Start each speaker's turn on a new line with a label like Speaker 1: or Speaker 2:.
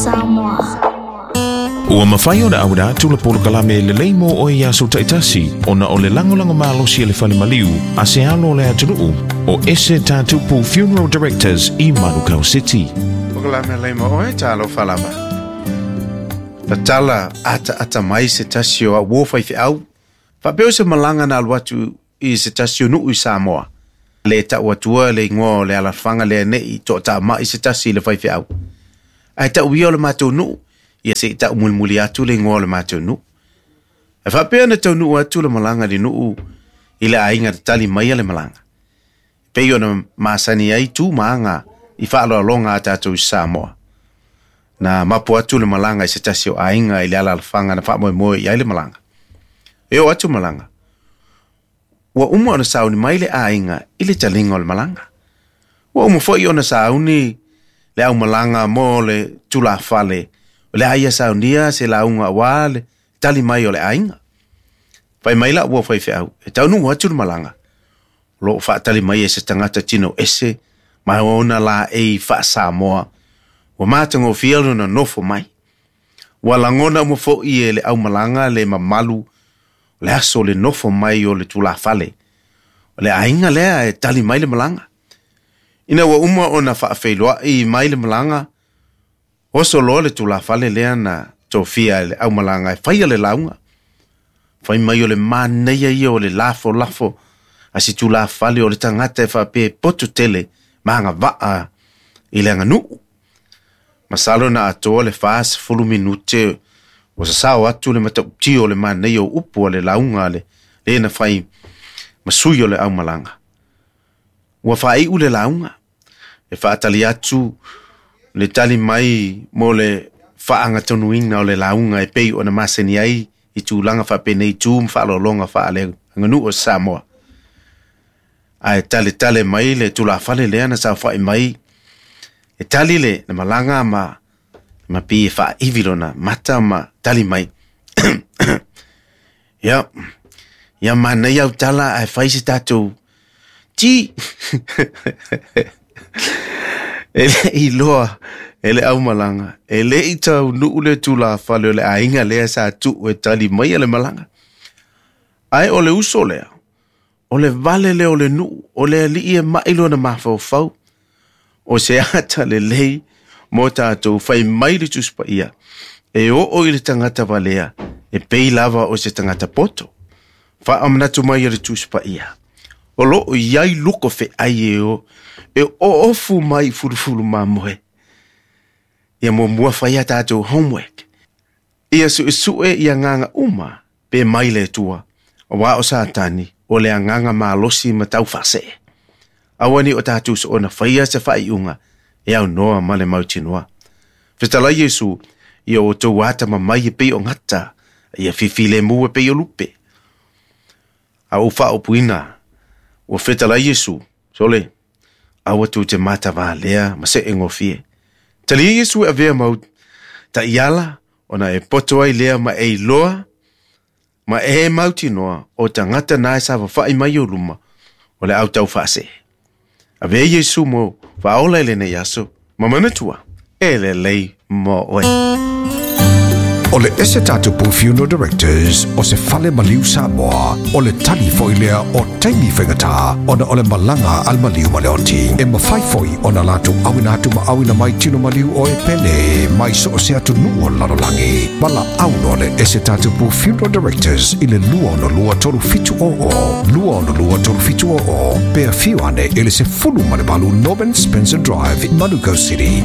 Speaker 1: Samoa.
Speaker 2: Ua mafai ona auina atu le polokalame lelei mo oe i aso taitasi ona o le lagolago malosi a le Fale Maliu a se alo o le atunuu o Ese Tatupu Funeral Directors i Manukau City.
Speaker 3: Polokalame lelei mo oe, talofa lava. Tatala ataata mai se tasi o au uo faifeau. Faapea o se malaga na alu atu i se tasi o nuu i Samoa. Le tau atua le igoa o le alaalafaga lea ne i toataamai se tasi i le faifeau. Ae tau ia o le matou nuu, ia se i tau mulimuli atu le igoa o le matou nuu. Ae faapea na taunuu atu le malaga i le nuu i le aiga na tali maia le malaga. E pei ona masani ai tu ma aga i faaaloaloga a tatou i Samoa. Na mapu atu le malaga i se tasi o aiga i le alaalafaga na faamoemoe i ai le malaga. E oo atu malaga, ua uma ona sauni mai le aiga i le taliga o le malaga. Ua uma foi ona sauni le aumalaga mo le tulafale o le a ia saunia se lauga aua le tali mai o le aiga. Fai mai lau uo faifeau, e taunuu atu le malaga, o lo o faatali mai e se tagata tino ese ma ona laei faa-Samoa, ua matagofie lona nofo mai. Ua lagona uma foi e le aumalaga le mamalu o le aso o le nofo mai o le tulafale o le aiga lea e tali mai le malaga. Ina ua uma ona faafeiloai mai le malaga, oso loa le tulafale lea na tofia e le aumalaga e faia le lauga. Fai mai o le manaia ia o le lafolafo a se tulafale o le tagata e faapea e poto tele ma agavaa i le aganuu. Masalo na atoa le 40 minute ua sasao atu le matautia o le manaia o upu a le lauga a le le na fai ma sui o le aumalaga. Ua faaiu le lauga, e faatali atu le tali mai mo le faaagatonuina o le lauga e pei ona masani ai i tulaga faapenei tu ma faaaloaloga faaleaganuu o Samoa. Ae taletale mai le tulafale lea na saofai mai e tali le malaga ma ma pei e faaivi lona mata ma tali mai. Ia, ia manaia au tala ae fai se tatou ti. E le i loa e le aumalaga, e le i taunuu le tulafale o le aiga lea sa tuu e tali maia le malaga. Ae o le uso lea, o le vale lea o le nuu, o le alii e mai lona mafaufau, o se ata lelei mo tatou fai mai le Tusi Paia, e oo i le tagata valea, e pei lava o se tagata poto. Faamanatu mai e le Tusi Paia, o lo o i ai luko feai e o, e oofu mai i fulufulu mamoe. Ia muamua fai a tatou homework. Ia suesue i agaga uma pe mai le Atua, aua o Satani o le agaga malosi ma taufaasee. Aua ne i o tatou soona faia se faaiuga e aunoa ma le mautinoa. Fetalai Iesu, ia outou atamamai e pei o gata, ia fifilemu e pei o lupe. A ou faaupuina, ua fetalai Iesu, sole, aua tou te matavalea ma seegofie. Talia Iesu e avea mau taiala, ona e poto ai lea ma e iloa, ma e mautinoa o tagata na e safafa'i mai ou luma, o le au taufaasee. Avea Iesu mo faaola i lenei aso, ma manatua, e lelei mo oe.
Speaker 4: O le Ese Tatupu Funeral Directors o se fale maliu Samoa, o le tali foi lea o taimi faigata ona o le malaga a le maliu ma le oti. E mafai foi ona latou auina atu ma auina mai tino maliu o e pele mai so o se atunuu o le lalolagi. Valaau loa le Ese Tatupu Funeral Directors i le 262 3700, 262 3700, pe afio ane i le 18 Norman Spencer Drive, Manukau City.